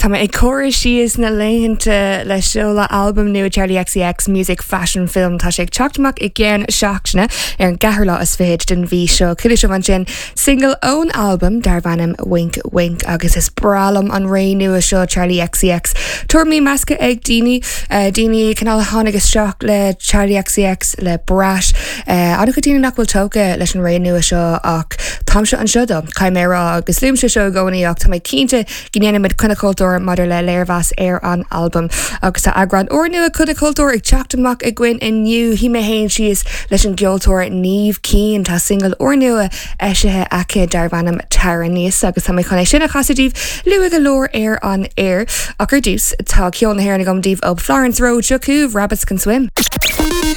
Tá mé ag comhaireamh síos na laethanta le seoladh albam nua Charli XCX, Music Fashion Film. Tá sé ag teacht amach i gceann seachtaine ar an gceathrú lá is fichead den mhí seo. Chuala sibh ansin single ón albam darb ainm Wink Wink agus is breá liom an ré nua seo Charli XCX. Tuairimí measctha ag daoine, daoine cineál a tháinig isteach le Charli XCX le Brat. An-chuid daoine nach bhfuil tógtha leis an ré nua seo ach táimse anseo dó, caithfidh mé a rá, agus luaimse seo i gcónaí ach tá mé cinnte go ndéanfaimid Coinne Cultúir maidir le léirmheas ar an albam. Agus tá eagrán úrnua Coinne Cultúir ag teacht amach againn inniu. Shuigh mé féin síos leis an gceoltóir Niamh Keane. Tá singil úrnua eisithe aici darb ainm Tar Aníos agus tá mé chun é sin a chasadh daoibh luath go leor ar an aer. Ach ar dtús, tá ceol na hÉireann agam daoibh ó Florence Road. Seo chugaibh Rabbits Can Swim.